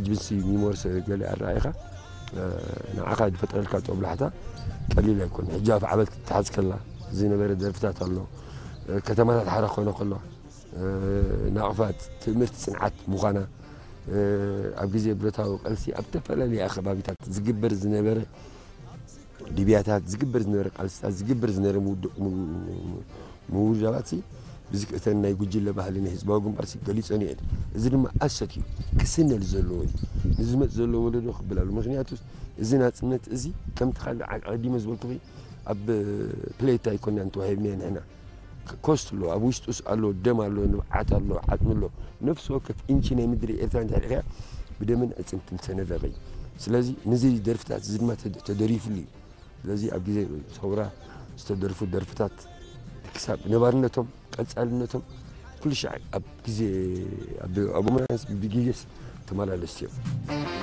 ህዝብሲ ሚሞርስ ገለ ኣረኣይኻ ንዓኻ ዝፈጥረልካ ጦብላሕታ ቀሊል ኣይኮን። ሕጂ ኣብ ዓበል ክትሓዝ ከላ ዝነበረ ደርፍታት ኣሎ። ከተማታት ሓራ ኮይነ ከሎ ናቕፋት ትምህርቲ ጽንዓት ምዃና ኣብ ግዜ ብረታዊ ቃልሲ ኣብ ዝተፈላለየ ከባቢታት ዝግበር ዝነበረ ድብያታት ዝግበር ዝነበረ ቃልስታት ዝግበር ዝነበረ ምውዳባት ብዝክእተን ናይ ጉጅለ ባህሊ ናይ ህዝባዊ ግንባር ገሊፀን እየን። እዚ ድማ ኣሰት እዩ ክስነል ዘለዎ እዩ። ንዝመፅ ዘሎ ወለዶ ክብል ኣሎ። ምክንያቱ እዚ ናፅነት እዚ ከምቲ ካልእ ዓቀዲመ ዝበልኩ ኣብ ፕሌት ኣይኮና እንተዋሂብና ንሕና ኮስት ኣሎ ኣብ ውሽጡስ ኣሎ ደም ኣሎ ንብዓት ኣሎ ዓጥሚ ኣሎ። ነፍሲ ወከፍ ኢንቺ ናይ ምድሪ ኤርትራ እንድሕር ኢኸያ ብደምን ዕፅምትን ዝተነደቐ እዩ። ስለዚ ነዚ ደርፍታት እዚ ድማ ተደሪፉሉ እዩ። ስለዚ ኣብ ግዜ ሰውራ ዝተደርፉ ደርፍታት ክሳብ ነባርነቶም ቀፃልነቶም ኩሉ ሻዕ ኣብ ግዜ ኣብ ኣቦመናስ ብግዜስ ተመላለስቲ እዮም።